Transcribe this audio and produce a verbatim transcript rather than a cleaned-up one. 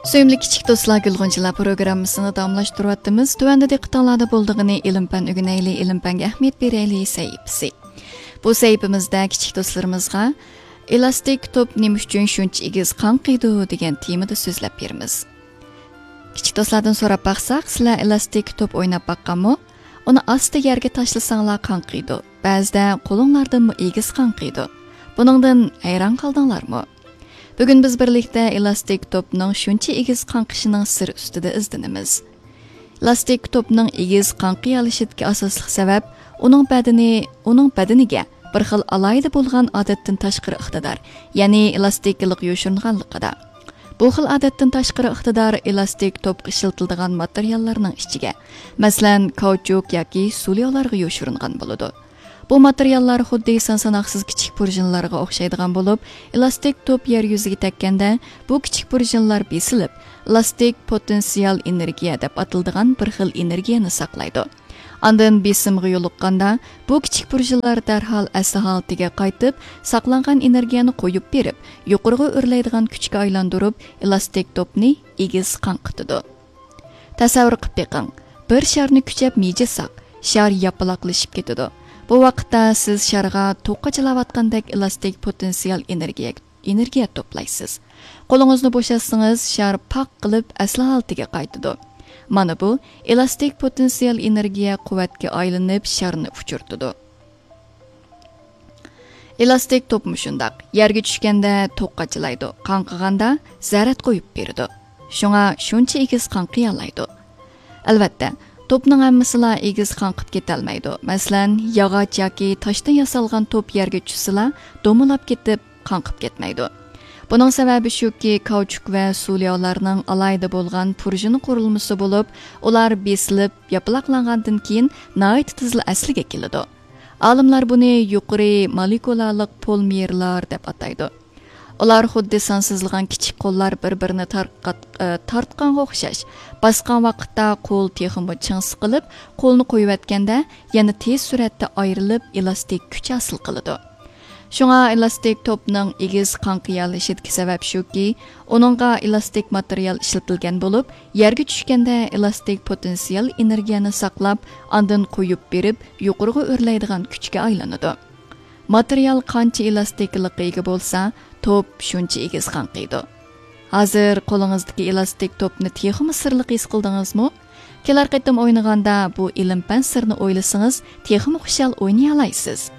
سۆيۈملۈك كىچىك دوستلار، گۈلغۇنچىلار پروگراممىسىنى داۋاملاشتۇرۇۋاتىمىز. تۆۋەندە دىققىتىڭلاردا بولىدىغىنى ئىلىم پەن ئۆگىنەيلى، ئىلىم پەنگە ئەھمىيەت بېرەيلى سەھىپىسى. بۇ سەھىپىمىزدە كىچىك دوستلىرىمىزغا ئېلاستىك توپ نېمە ئۈچۈن شۇنچە ئېگىز قاڭقىيدۇ دېگەن تېمىدا سۆزلەپ بېرىمىز. كىچىك دوستلاردىن سوراپ باقساق، سىلەر ئېلاستىك توپ ئويناپ باققانمۇ؟ ئۇنى ئاستا يەرگە تاشلىساڭلار قاڭقىيدۇ. بەزىدە قولۇڭلاردىنمۇ ئېگىز قاڭقىيدۇ. بۇنىڭدىن ھەيران قالدىڭلارمۇ؟ بۈگۈن بىز بىرلىكتە ئېلاستىك توپنىڭ شۇنچە ئېگىز قاڭقىشىنىڭ سىرى ئۈستىدە ئىزدىنىمىز. ئېلاستىك توپنىڭ ئېگىز قاڭقىيالىشىدىكى ئاساسلىق سەۋەب ئۇنىڭ بەدىنى، ئۇنىڭ بەدىنىگە بىر خىل ئالاھىدە بولغان ئادەتتىن تاشقىرى ئىقتىدار، يەنى ئېلاستىكىلىق يوشۇرۇنغانلىقىدا. بۇ خىل ئادەتتىن تاشقىرى ئىقتىدار ئېلاستىك توپقا ئىشلىتىلىدىغان ماتېرىياللارنىڭ ئىچىگە، مەسىلەن، كاۋچۇك ياكى سۇلياۋلارغا يوشۇرۇنغان بولىدۇ. بۇ ماتېرىياللار خۇددى سان-ساناقسىز كىچىك پۇرژىنلارغا ئوخشايدىغان بولۇپ، ئېلاستىك توپ يەر يۈزىگە تەگكەندە، بۇ كىچىك پۇرژىنلار بېسىلىپ، ئېلاستىك پوتېنسىيال ئېنېرگىيە دەپ ئاتىلىدىغان بىر خىل ئېنېرگىيەنى ساقلايدۇ. ئاندىن بېسىمغا يولۇققاندا، بۇ كىچىك پۇرژىنلار دەرھال ئەسلى ھالىتىگە قايتىپ، ساقلانغان ئېنېرگىيەنى قويۇپ بېرىپ، يۇقىرىغا ئۆرلەيدىغان كۈچكە ئايلاندۇرۇپ، ئېلاستىك توپنى ئېگىز قاڭقىتىدۇ. تەسەۋۋۇر قىلىپ بېقىڭ، بىر شارنى كۈچەپ مىجىساق، شار ياپىلاقلىشىپ كېتىدۇ. بۇ ۋاقىتتا سىز شارغا توققا جىلاۋاتقاندەك ئېلاستىك پوتېنسىيال ئېنېرگىيە، ئېنېرگىيە توپلايسىز. قولىڭىزنى بوشاتسىڭىز، شار پاق قىلىپ ئەسلى ھالىتىگە قايتىدۇ. مانا بۇ ئېلاستىك پوتېنسىيال ئېنېرگىيە قۇۋۋەتكە ئايلىنىپ، شارنى ئۇچۇرتىدۇ. ئېلاستىك توپمۇ شۇنداق. يەرگە چۈشكەندە توققاچىلايدۇ، قاڭقىغاندا زەرەت قويۇپ بېرىدۇ. شۇڭا شۇنچە ئېگىز قاڭقىيالايدۇ. ئەلۋەتتە، توپنىڭ ھەممىسىلا ئېگىز قاڭقىپ كېتەلمەيدۇ. مەسىلەن، ياغاچ ياكى تاشتىن ياسالغان توپ يەرگە چۈشسىلا، دومىلاپ كېتىپ، قاڭقىپ كەتمەيدۇ. بۇنىڭ سەۋەبى شۇكى، كاۋچۇك ۋە سۇلياۋلارنىڭ ئالاھىدە بولغان پۇرژىنا قۇرۇلمىسى بولۇپ، ئۇلار بېسىلىپ، ياپىلاقلانغاندىن كېيىن ناھايىتى تېزلا ئەسلىگە كېلىدۇ. ئالىملار بۇنى يۇقىرى مولېكۇلالىق پولىمېرلار دەپ ئاتايدۇ. ئۇلار خۇددى سانسىزلىغان كىچىك قوللار بىر-بىرىنى تارقات-، ئى، تارتقانغا ئوخشاش. باسقان ۋاقىتتا قول تېخىمۇ چىڭ سىقىلىپ، قولنى قويۇۋەتكەندە يەنە تېز سۈرئەتتە ئايرىلىپ، ئېلاستىك كۈچ ھاسىل قىلىدۇ. شۇڭا ئېلاستىك توپنىڭ ئېگىز قاڭقىيالىشىدىكى سەۋەب شۇكى، ئۇنىڭغا ئېلاستىك ماتېرىيال ئىشلىتىلگەن بولۇپ، يەرگە چۈشكەندە ئېلاستىك پوتېنسىيال ئېنېرگىيەنى ساقلاپ، ئاندىن قويۇپ بېرىپ، يۇقىرىغا ئۆرلەيدىغان كۈچكە ئايلىنىدۇ. ماتېرىيال قانچە ئېلاستىكلىققا ئىگە بولسا، توپ شۇنچە ئېگىز قاڭقىيدۇ. ھازىر قولىڭىزدىكى ئېلاستىك توپنى تېخىمۇ سىرلىق ھېس قىلدىڭىزمۇ؟ كېلەر قېتىم ئوينىغاندا بۇ ئىلىم-پەن سىرىنى ئويلىسىڭىز، تېخىمۇ خۇشال ئوينىيالايسىز.